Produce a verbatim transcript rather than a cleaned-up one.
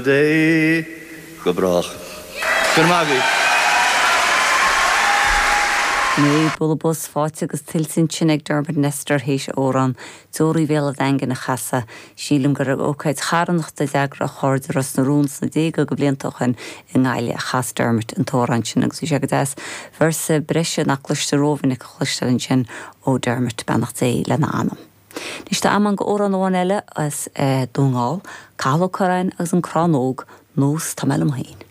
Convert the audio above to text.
Dé go brách. Go maith agaibh. Né bualadh bos faighte agus tuillte ansin ag Dermot Nestor théis amhrán Deoraí Bhéal an Daingin a chasadh. Sílim gur ag ócáid charthanachta a d'eagraigh a chairde Ros na Rún sna déaga de bhlianta ó shin i nGaillimh a chas Dermot an t-amhrán sin agus bhí sé go deas véarsa breise nach gcloistear rómhinic a chloisteáil ansin ó Dermot beannacht Dé lena anam. Anois tá am ann do amhrán amháin eile as eh, Dún na nGall, Cathal Ó Curráin agus an Crann Óg, nós tá mé liom féin.